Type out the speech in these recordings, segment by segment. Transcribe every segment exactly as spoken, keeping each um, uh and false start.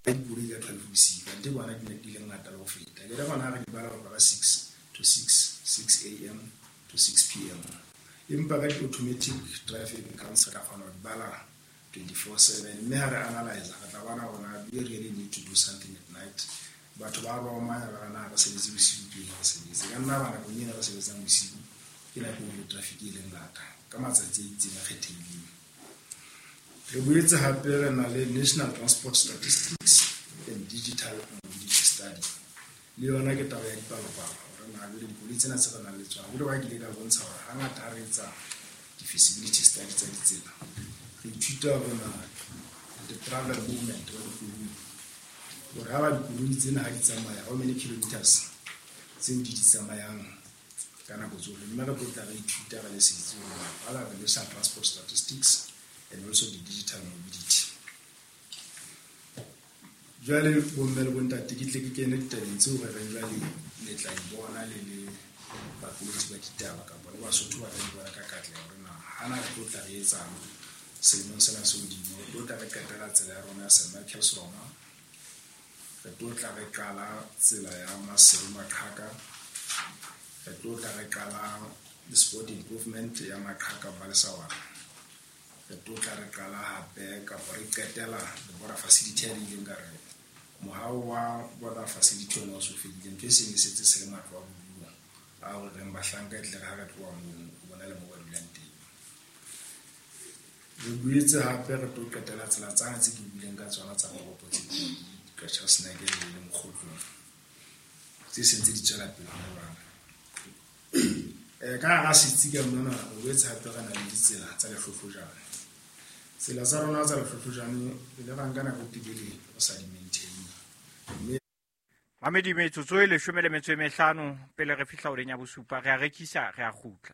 Dikoloi ka twelve bosiu kante bona di ne di le ngata le ho feta. Ke re bona re di bala ho tloha ka six to six, six A M to six P M. Empa ka di-automatic traffic counts re tla kgona ho di bala twenty-four seven. Mme ha re analyze re tla bona hore na do we really need to do something at night. Batho ba romanya ba re na re sebetse bosiu ke eng re sebetse. Ka nna ba nakong ena re sebetsang bosiu ke nako eo traffic e leng ngata ka matsatsi a itseng a kgethehileng. Re boetse hape re na le National Transport Statistics and Digital Mobility Study. Le yona ke taba ya dipalopalo hore na jwale dikoloi tsena tse re nang le tsona. Jwale ba ke ile ka bontsha hore hangata ha re etsa di-feasibility study tsa ditsela, re ithuta hore na the travel movement wa dikoloi, hore ha ba dikoloi tsena ha di tsamaya, how many kilometers tseo di di tsamayang ka nako tsohle. Mme re tlo tla re ithuta re le setsi hore na what are the National Transport Statistics and also the digital mobility. Jwale bomme le bontate ke tle ke kene ditabeng tseo re reng jwale le tla di bona le le baqolotsi ba ditaba kapa le Basotho ba tla di bona ka katleho hore na hana re tlo tla re etsang selemong sena se hodimo. Re tlo tla re qetela tsela ya rona ya Saint Michael's Roma, re tlo tla re qala tsela ya Maseru Maqhaka, re tlo tla re qala the sport improvement ya Maqhaka Balesawana, re tlo tla re qala hape kapa re qetela the border facility ya ileng ka re mohao wa border facility ona o so fedile, ntho e seng e setse se le matlo a bodulo a hore reng bahlanka e tle re ha re tloha moo o bona le moo ba dulang teng. Re boetse hape re tlo qetela tsela tsane tse ke buileng ka tsona tsa toropo tse pedi, Qacha's Nek le Mokgotlong, tse seng tse di tswela pele hona jwale. Eh, ka hara setsi ka mona re boetse hape re na le ditsela tsa lehlohlojane. Tsela tsa rona tsa lehlohlojane re ile ra nka nako e telele re sa di maintain. Mme Mamedi, metsotso e leshome le metso e mehlano pele re fihla horeng ya bosupa, re a rekisa, re a kgutla.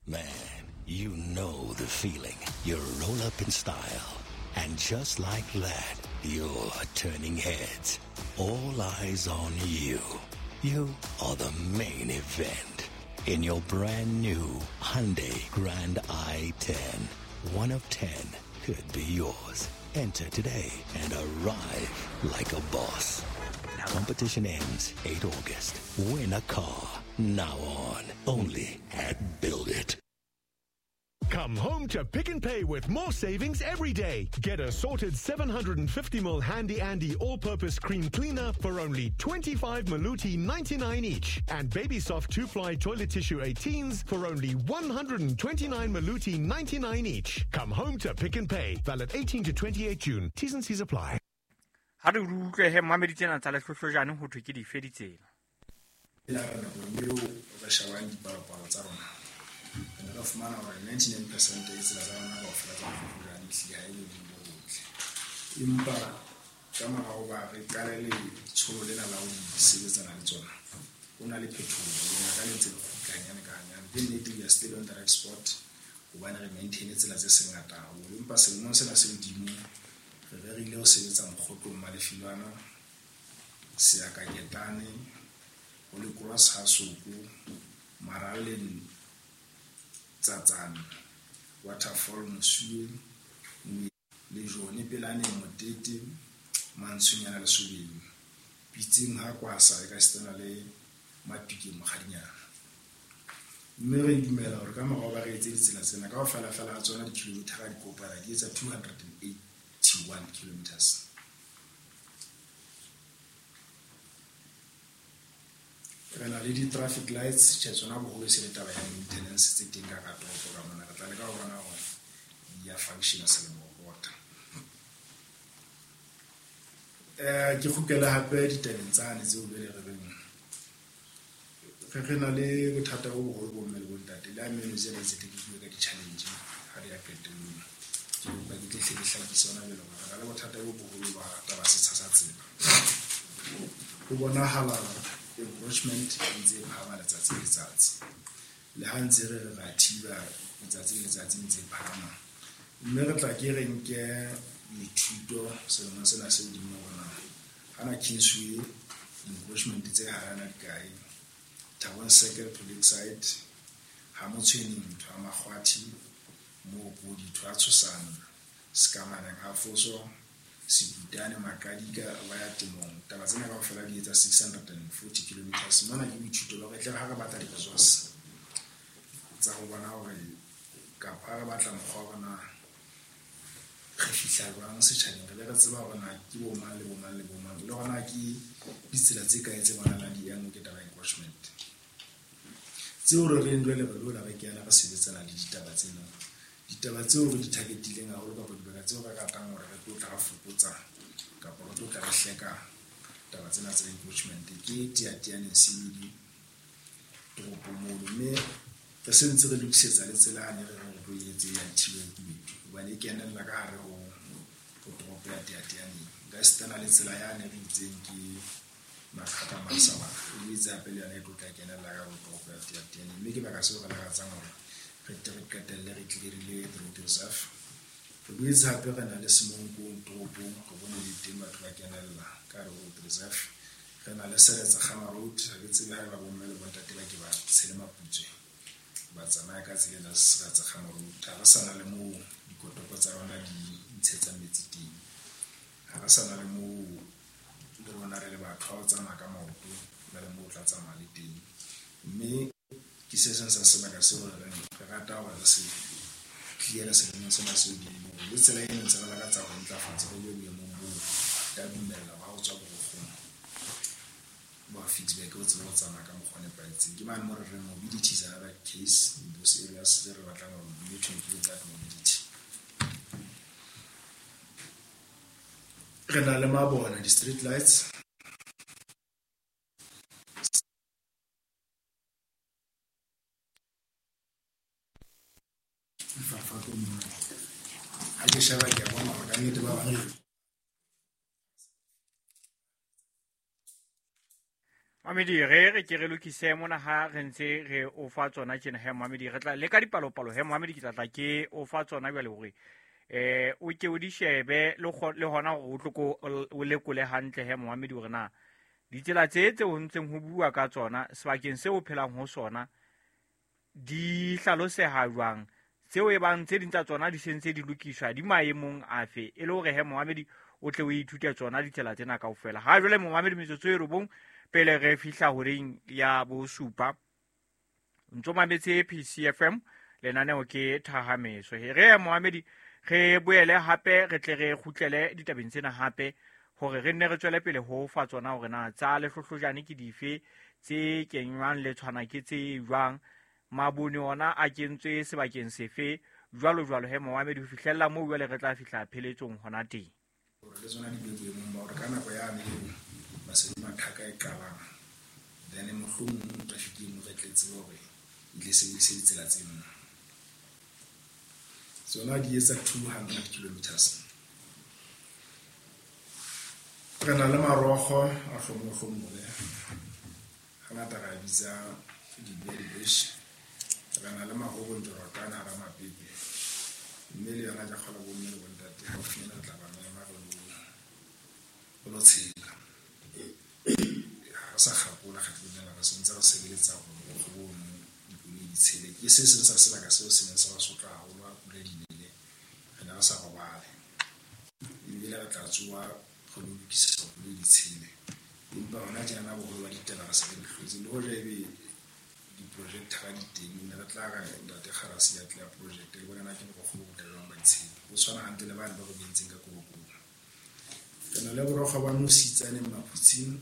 Man, you know the feeling. You roll up in style. And just like that, you're turning heads. All eyes on you. You are the main event. In your brand new Hyundai Grand i ten. One of ten could be yours. Enter today and arrive like a boss. Competition ends eighth August. Win a car. Now on. Only at Build It. Come home to Pick n Pay with more savings every day. Get a sorted seven hundred and fifty mil Handy Andy all-purpose cream cleaner for only twenty-five Maluti ninety-nine each. And Baby Soft two-ply toilet tissue eighteens for only one hundred and twenty-nine Maluti ninety-nine each. Come home to Pick n Pay. Valid eighteen to twenty-eight June. T's and C's apply. Ha re utlwe he mamedi tsena tsa lehlohlojane ho thwe ke dife ditsela? La re nakong eo re shebang dipalopalo tsa rona, re ne re fumana hore ninety-nine percent ya ditsela tsa rona kaofela tsa lehlohlojane ehlile ha e le bo botle. Empa ka mora hoba re qale letsholo lena la ho sebetsana le tsona, ho na le phetoho, lenaka le ntse le kgutla hanyane ka hanyane. Ke nnete we are still on the right spot hobane re maintain tsela tse seng ngata haholo. Empa selemong sena se hodimo re rerile ho sebetsa Mokgotlong Malefilwana, Seakaketane, Holy Cross ha Soko, Maraleng Tsatsane, Waterfall Mosuwe, Lejone Pelane Motete, Mantshonyana Lesobeng, Pitseng ha Kwasa e ka sitana le Matukeng Mokgadinyana. Mme re dumela hore ka mora hoba re etse ditsela tsena kaofela fela ha tsona di-kilometer di kopana di etsa two hundred and eighty-one kilometers. Re na le di-traffic lights, tjhe tsona boholo e se le taba ya maintenance tse teng ka hara toropo ka mona. Re tla leka ho bona hore di a function-a selemo ho pota. Eh, ke kgutlele hape ditabeng tsane tseo jwale re reng re re na le bothata bo boholo bo mme le bontate. Le ha meno tsena tse ke bue ka di-challenge ha re ya qetellong. Ke kopa ke tle hle ke hlakise hona jwale hore re na le bothata bo boholo ba taba setsha sa tsela. Ho bonahala encroachment e ntse e phahama letsatsi le letsatsi. Le ha ntse re re ra thiba letsatsi le letsatsi e ntse e phahama. Mme re tla ke re nke dithuto selemong sena se hodimo hore na hana Kingsway encroachment tse harana di kae, Thabong Circle to Lakeside, ha Motshweneng ntho ya Makgwathi, Mookodi ntho ya Tshosane, Sekamaneng ha Foso, Sebutane Makadika ba ya temong. Taba tsena kaofela di etsa six hundred and forty kilometers. Mona ke boithuto ba re tle ha re batla di-resource tsa ho bona hore kapa ha re batla mokgwa wa bona re fihla jwang setjhabeng, re be re tseba hore na ke bo mang le bo mang le bo mang, le hona ke ditsela tse kae tse bonahalang di yang ke taba ya encroachment. Tseo re reng jwale re lo re kena re sebetsana le ditaba tsena. Ditaba tseo re di targetileng haholo kapa dibaka tseo re ratang hore re tlo tla re fokotsa kapa re tlo tla re hleka taba tsena tsa encroachment ke Teyateyaneng C B D toropong mono, mme re se ntse re lokisetsa le tsela yane re re tlo e etse ya Thibeng Kubedu hobane e kenella ka hare ho ho toropo ya Teyateyaneng. Nka esitana le tsela yane re itseng ke Makhata Masabaka e boetse hape le yona e tlo tla kenella ka hare ho toropo ya Teyateyaneng, mme ke baka seo re lakatsang hore re tle re qetelle re clearile road reserve. Re boetse hape re na le Semonkong toropong, re bone le teng batho ba kenella ka hare ho road reserve. Re na le Seretse Khama Road, ha ke tsebe haeba bomme le bontate ba ke ba tshele Maputswe ba tsamaya ka tsela ya Seretse Khama Road. Ha re sa na le moo dikotopo tsa rona di ntshetsang metsi teng, ha re sa na le moo le rona re le batho ha o tsamaya ka maoto na le moo o tla tsamaya le teng. Mme ke se seng sa sebaka seo re reng re rata hore re se clear-e selemong sena se hodimo, le tsela e ntse re lakatsa ho ntlafatsa re be boemong boo ka dumella ha o tswa borokgong ba Ficksburg o tsebe ho tsamaya ka mokgwa o nepahetseng. Ke mane mo re reng mobility is another case in those areas tse re batlang hore mme to improve that mobility. Re na le mabone, di-street lights. Ha ke sheba ke a bona hore ka nnete ba bang Mamedi, re re ke re lokise mona ha re ntse re o fa tsona tjena he Mamedi, re tla le ka dipalopalo he Mamedi, ke tla tla ke o fa tsona jwale hore eh o ke o di shebe le le hona hore o tlo ko o lekole hantle he Mamedi hore na ditsela tse tse ho ntseng ho bua ka tsona sebakeng seo o phelang ho sona di hlaloseha jwang, tseo e bang tse ding tsa tsona di sentse di lokiswa di maemong afe, e le hore he Mamedi o tle o ithute tsona ditsela tsena kaofela. Ha jwale Mamedi metsotso e robong pele re fihla horeng ya bosupa, ntso mametse P C F M, lenaneo ke Thahameso. He re Mohamedi re boele hape re tle re kgutlele ditabeng tsena hape hore re nne re tswele pele ho fa tsona hore na tsa lehlohlojane ke dife tse kenywang le tshwana ke tse jwang, mabone ona a kentswe sebakeng sefe, jwalo jwalo he Mohamedi ho fihlella moo jwale re tla fihla pheletsong hona teng. Hore le tsona di be boemong ba hore ka nako yane eo Masedi Mathaka e qalang, then mohlomong traffic eno re tle tsebe hore e tle sebedise ditsela tseno. Tsona di etsa two hundred kilometers. Re na le marokgo a hlomohlomole, hangata re a bitsa di-berry bush. Re na le mahobonjorotana hara mapepe, mme le yona ke kgolwa bomme le bontate haufinyana re tla ba mema re lo re lo tshela. Ha re sa kgakola kgetlong lena, re sentse re sebeletsa hore borokgo bono dikoloi di tshele. Ke se seng sa sebaka seo se neng se re sotla haholo ha pula di nele, re ne re sa robale, ebile re tla tsoha re lo lokisa hore dikoloi di tshele. Empa hona tjenana boholo ba ditaba re se re di hlotse, le hoja ebe di-projector di teng, ne re tla re ntate Kgarasi ya tle ya project le bona na ke borokgo bo botle jwang ba ditshele, bo tshwana hantle le bane ba re bentseng ka Korokoro. Re na le borokgo ba Mositsaneng Maphutsing,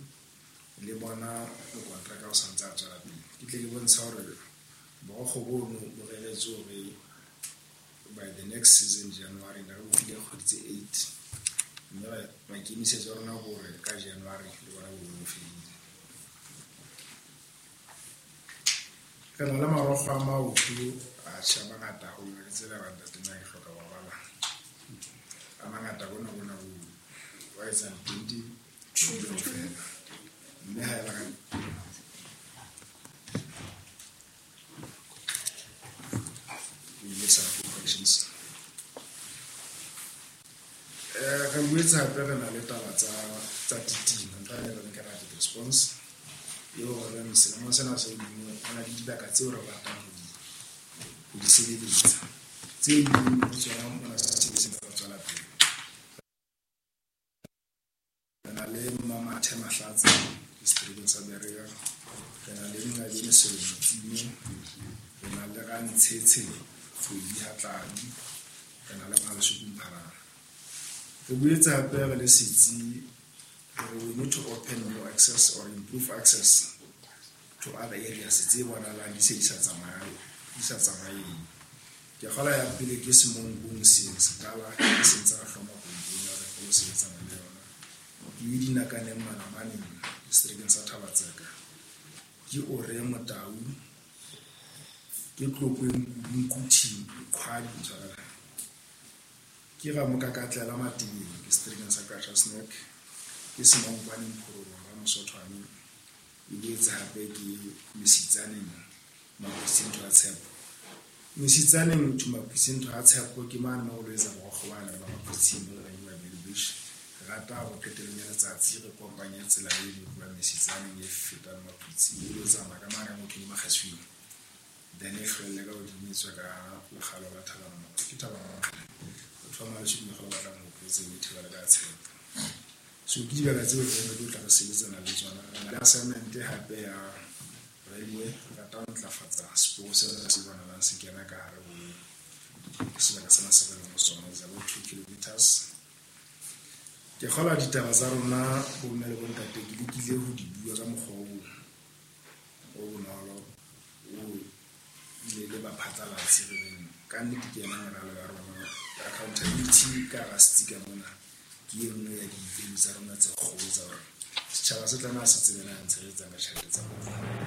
le bona mokontraka o santse a tswela pele. Ke tle ke bontsha hore borokgo bono bo reretswe hore by the next season January, ne re bo file kgwedi tse eight, mme maikemisetso a rona ke hore ka January le bona bo bo fedile. Re na le marokgo a maoto a tjha a mangata haholo, ke tsela ba ntate nna ke hloka wa bala. A mangata bona bona bo wa etsang twenty kaofela. Mme ha eba ka we some corrections. Eh re boetse hape re na le taba tsa tsa titima, ntho e re reng ke rapid response. Eo re reng selemong sena se hodimo ho na le dibaka tseo re ratang ho di ho di sebeletsa. Tse ding ho tsona mona se se tswela pele. le Mmamathe Mahlatse ke seterekeng sa Berea, re na le Nqabeni Sello Motsime, re na le Rantshetshe Kgwedi Hatladi, re na le Maleshoko Mpharang. Re boetse hape re le setsi we need to open new access or improve access to other areas tse bonahalang di se di sa tsamaye di sa tsamaye. Ke kgola ya pele ke Semonkong Sekala ke sentse re hloma kompone ya re kgolo sebetsana le yona. Ke Dinakaneng Manamaneng seterekeng sa Thabatseka, ke Ore Motau, ke Tlokweng Nkuthi Kgwadi ntshwarela, ke Ramokakatlela Matebeng ke seterekeng sa Qacha's Nek, ke Semonkwaneng Phorolong Ramosothwane, e boetse hape ke Mesitsaneng Maphutsing Ntho ya Tshepo. Mesitsaneng to Maphutsing Ntho ya Tshepo ke mane mo lo etsa borokgo bana ba Maphutsing mo re ba Bellbush. Re rata hore qetellong ya letsatsi re kopanye tsela e le tlohang Mesitsaneng e fetang Maphutsing e lo tsamaya ka mane motho le Makgaswing. Then e hlwelle ka hodimo e tswe ka lekgalo la Thabana. Ke Thabana. Batho ba Maleshoko ba batlang ho tsebe e thibela ka Tshepo. So ke dibaka tseo re re tlo tla re sebetsana le tsona. Re na le assignment hape ya railway, re rata ho ntlafatsa seporo sena se bonahalang se kena ka hare ho sebaka sena se re leng ho sona, is about two kilometers. Ke kgolwa ditaba tsa rona bo mme le bontate ke lekile ho di bua ka mokgwa o o bonolo o le le baphatlalatsi re reng ka nnete ke yona meralo ya rona. Accountability ka hara setsi ka mona ke e nngwe ya di-value tsa rona tse kgolo tsa hore setjhaba se tlameha se tsebe na ntse re etsang ka tjhelete tsa bona.